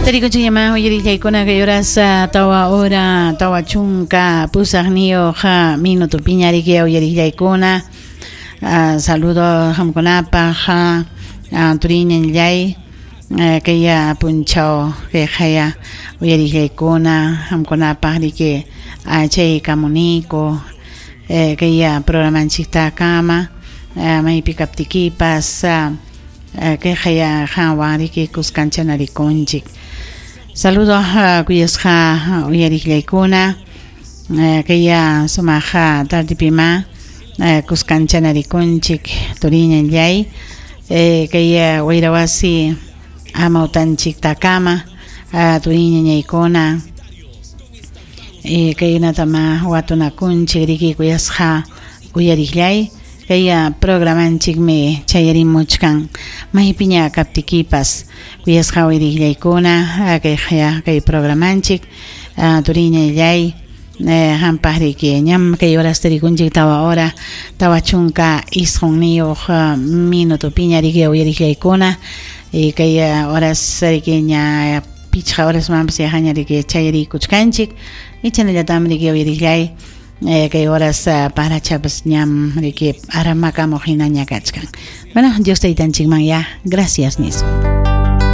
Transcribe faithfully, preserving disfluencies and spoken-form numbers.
Tarikuchiyama uyarillaykuna kay horas tawa hora tawa chunka pusaqniyuq minuto piñariki uyarillaykuna. Saludo qamkunapaq turiñanllay kay punchaw kay qaya uyarillaykuna qamkunapaq riki chay kamuniko kay programanchiktakama maypi kaptikipas kay qaya qanwan riki kuskancha-narikunchik. Saludo kuyasqa uyarillaykuna kay sumaq tardipima kuskancha-narikunchik turiñanllay kay wayrawasi amawtanchiktakama turiñañaykuna kaynatama watunakunchik riki kuyasqa uyarillay kay programanchikmi chayarimuchkan maypiña kaptikipas kuyasqa uyarillaykuna kay kay programanchik turiñallay hampaq riki ñam kay horas tarikunchik tawa hora tawa chunka isqunniyuq minuto piña riki uyarillaykuna kay horas riki ña pichqa horas manpas yajaña riki chayarikuchkanchik ichanallatami riki uyarillay kay horas parachapas ñam riki aramakamuq hinaña kachkan. Bueno, Dios taytanchikman ya gracias nispa.